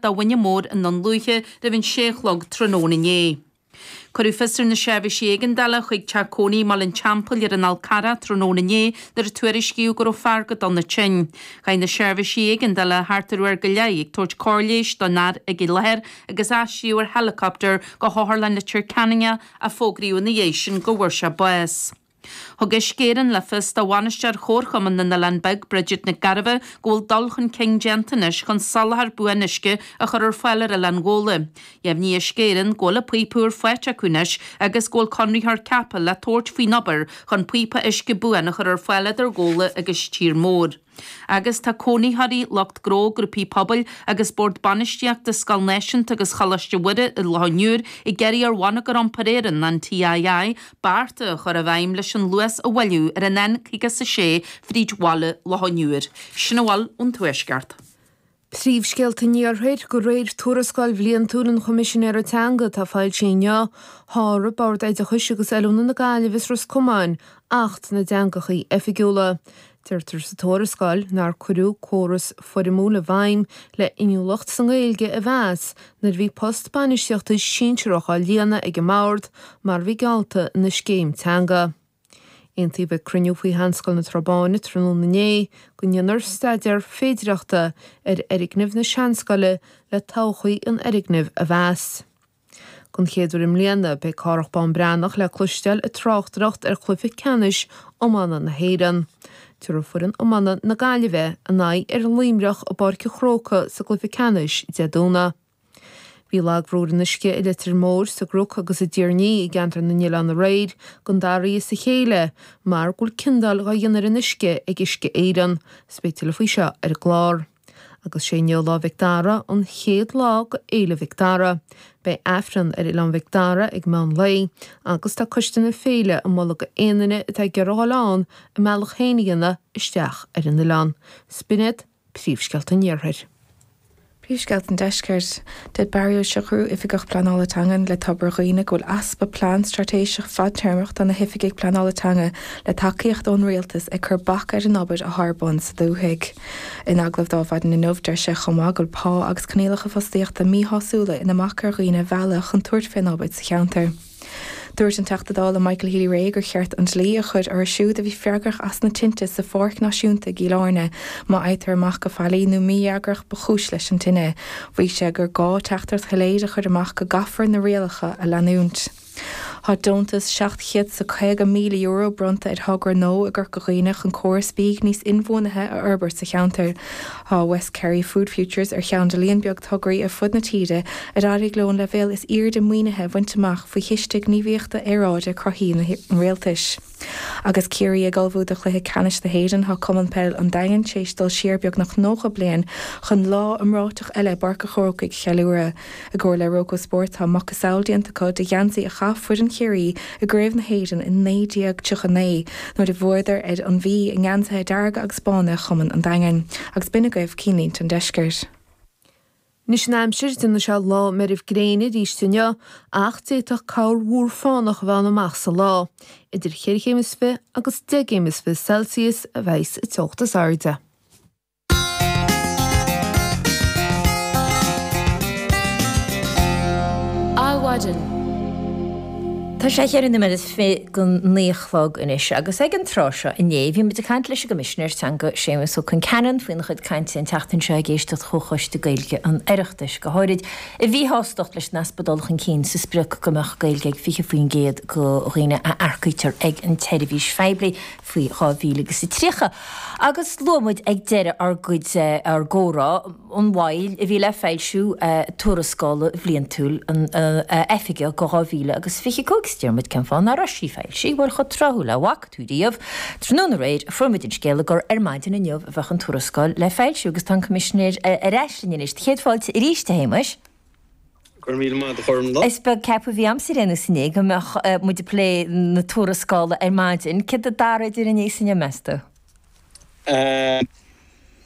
do Mhuine Mór i nDún Lúiche roimh an sé a chlog tráthnóna inné. Cuireadh fios ar na seirbhísí éigeandála chuig teach cónaí i mBaile an Teampaill ar an Fhál Carrach tráthnóna inné nuair a tuairiscíodh go raibh fear go dona tinn. Chaith na seirbhísí éigeandála thart ar uair go leith ag tabhairt cóir leighis don fhear ag an láthair agus aistríodh ar helicopter go hOtharlann Leitir Ceanainn é ach fógraíodh ina dhiaidh sin go bhfuair sé bás. Thug Uisce Éireann le fios do bhainisteoir Chomharchumann na nOileán Beag, Bridget Nic Gairbheith, go bhfuil dul chun cinn déanta anois chun soláthar buan uisce a chur ar fáil ar Oileán Ghabhla. Dheimhnigh Uisce Éireann go bhfuil an píopa úr faighte acu anois agus go bhfuil conraitheoir ceaptha le tabhairt faoin obair chun píopa uisce buan a chur ar fáil idir Gabhla agus Tír Mór. Agus tá cónaitheoirí, lucht gnó, grúpaí pobail agus Bord Bainistíochta Scoil Náisiúnta agus Choláiste Mhuire i Loch an Iúir ag iarraidh ar Bhonneagar Iompair Éireann, an TII, bearta a chur i bhfeidhm leis an luas a mhoilliú ar an N56 fríd bhaile Loch an Iúir. Sin a bhfuil ón Tuaisceart. Príomhscéalta an Iarthair, De réir tuarascáil bhliantúil an Choimisinéara Teanga atá foilsithe inniu, sháraigh Bord Oideachais agus Oiliúna na Gaillimhe is Ros Comáin Acht na dTeangachaí Oifigiúla. Deirtear sa tuarascáil nár cuireadh córas foirmiúil i bhfeidhm le inniúlacht sa nGaeilge a mheas nuair a bhí post bainistíochta sinsearach á líonadh ag an mBord mar a bhí geallta ina scéim teanga. Aontaíodh ag cruinniú faoi Sheanscoil na Trá Báine tráthnóna inné go ndéanfar staidéar féidireachta ar fhoirgneamh na Seanscoile le todhchaí an fhoirgnimh a mheas. Don chéad uair i mbliana, beidh Cárthach Bán Breathnach le cloisteáil ag tráchtaireacht ar chluiche ceannais iomána na hÉireann. Tabharfaidh foireann iomána na Gaillimhe a n-aghaidh ar Luimneach i bPáirc an Chrócaigh sa gcluiche ceannais Dé Domhnaigh. Bhí lagbhrú ar an uisce i Leitir Móir, sa gCnoc agus i dTír an Fhia i gceantar na nOileán aréir don dara oíche as a chéile mar go bhfuil ciondáil dhá dhéanamh ar an uisce ag Uisce Éireann. 'S beidh tuilleadh faoi seo ar an gclár. Agus sé inniu Lá Mhic Dara, an chéad lá go Fhéile Mhic Dara. Beidh Aifreann ar Oileán Mhic Dara ag meán lae agus tá coiste na féile ag moladh go aon duine atá ag iarraidh a dhul ann a mbealach féin a dhéanamh isteach ar an oileán. 'S b'in iad Príomhscéalta an Iarthair. Príomhscéalta an Deiscirt. Deir Barry Ó Siochrú, Oifigeach Pleanála Teangan le Tobar Dhuibhne go bhfuil easpa plean straitéiseach fadtéarmach do na hoifigigh pleanála teanga le tacaíocht ón rialtas ag cur bac ar an obair athá ar bun sa dúthaigh. In agallamh do Adhmhaidin inniu deir sé chomh maith go bhfuil pá agus coinníollacha fostaíochta míshásúla ina mbac ar dhaoine a mhealladh chun tabhairt fén obair sa cheantar. Dúirt an Teachta Dála Michael Healy-Rae gur cheart an dlí a chur orthu siúd a bhí freagrach as na tinte sa Pháirc Náisiúnta i gCill Airne má fhaightear amach gur faillí nó mífhreagracht ba chúis leis an tine. Mhaígh sé gur gá teachtaireacht shoiléir a chur amach go gcaithfear na rialacha a leanúint. Tá deontas €750,000 bronnta ar thogra nua i gCorca Dhuibhne chun córas bídh níos inbhuanaithe a fhorbairt sa cheantar. Tá West Kerry Food Futures ar cheann de líon beag tograí ar fud na tíre ar éirigh leo an leibhéal is airde maoinithe a bhaint amach faoi Chiste Gníomhaíochta Aeráide Cruthaithe an Rialtais. Agus Ciarraí ag ullmhú do chluiche ceannais na hÉireann, tá Cumann Peil an Daingin tar éis dul siar beagnach 90 bliain chun lá iomráiteach eile i bPáirc an Chrócaigh a cheiliúradh. I gcomhar le Roko Sports tá macasamhail déanta acu de gheansaí a chaith foireann Chiarraí i gCraobh na hÉireann i 1939 nuair a bhuadar ar an Mhí i ngeansaithe dearga agus bána Chumann an Daingin. Agus b'in agaibh cinnlínte an deiscirt. Anois an aimsir, déanfaidh sé lá meirbh gréine arís inniu ach d'fhéadfadh corrmhúr fánach a bheith ann amach sa lá. Idir cheithre chéim is fi agus deich gcéim is fi Celsius a bheidhs an teocht is airde. Adhmhaidin. Tá sé cheithre nóiméad is fi go naoi a chlog anois agus ag an tráth seo inné bhí muid ag caint leis an gCoimisinéir Teanga Séamus Ó Concheanainn faoina chuid cainte an tseachtain seo ag éisteacht Chomhchoiste Gaeilge an Oireachtais, go háirid a mhíshástacht leis an easpa dul chun cinn sa sprioc go mbeadh Gaeilge ag 20% de dhaoine a earcaítear ag an tseirbhís phoiblí. faoi 2000 agus 30. Agus luaigh muid ag deireadh ár gcuid, ár gcomhrá, an mhoill a bhí le foilsiú tuarascála bhliantúil an oifige do 2000 agus 25. Is deir muid cén fáth nach raibh sí foilsithe, bhuel chomh tráthúil le bhfaca tú riamh, tráthnóna aréir a fuair muid an scéala gur ar maidin inniu a bheadh an tuarascáil le foilsiú agus tá an Coimisinéir ar ais linn anois. Céad fáilte arís, a Shéamais. Go raibh míle maith agat, a Ghormfhlaith. Is beag ceapadh a bhí a'msa ar aon nós inné go mbeadh muid ag plé na tuarascála ar maidin. Céard a d'athraigh idir inné is inniu, meas tú?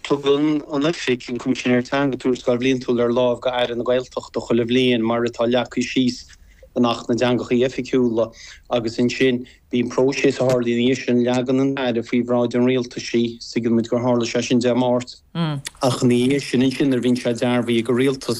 Tugann an Oifig, an Coimisinéir Teanga, tuarascáil bhliantúil ar láimh go Aire na Gaeltachta chuile bhliain, mar atá leagtha síos in Acht na dTeangachaí Oifigiúla, agus ansin bíonn próiseas a tharlaíonn ina dhiaidh sin, leagann an tAire faoi bhráid an Rialtais í, tuigeann muid gur tharla sé sin Dé Máirt, ach ina dhiaidh sin ansin nuair a bhíonn sé dearbhaithe ag an Rialtas.